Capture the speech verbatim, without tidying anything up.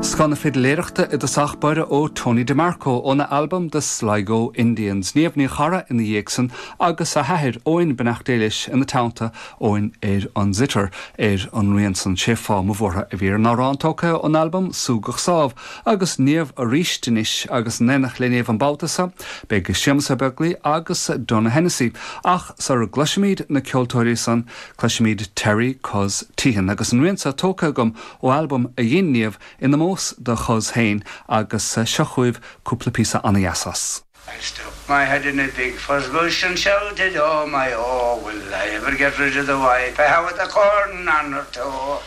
Scoth na fidiléireachta i dtosach báire ó Tony DeMarco óna albam The Sligo Indians. Niamh Ní Charra ina dhiaidh san agus a hathair Eoin beannacht Dé leis ina teannta Eoin ar an zither ar an rian san sé fáth mo bhuartha a bhí ar an amhrán tógtha ón albam Súgach Sámh agus Niamh arís anois agus in éineacht le Niamh an babhta seo beidh Séamus Ó Beaglaoich agus Donogh Hennessy ach sara gcloisimid na ceoltóirí san cloisimid Terry Cos Teahen agus an rian seo tógtha agam ó albam a dhein Niamh in ómós do Chos féin agus seo chugaibh cúpla píosa an-deas as. I stuck my head in a big furze bush and shouted, oh my oh, will I ever get rid of the wife I have with the corn on her toe?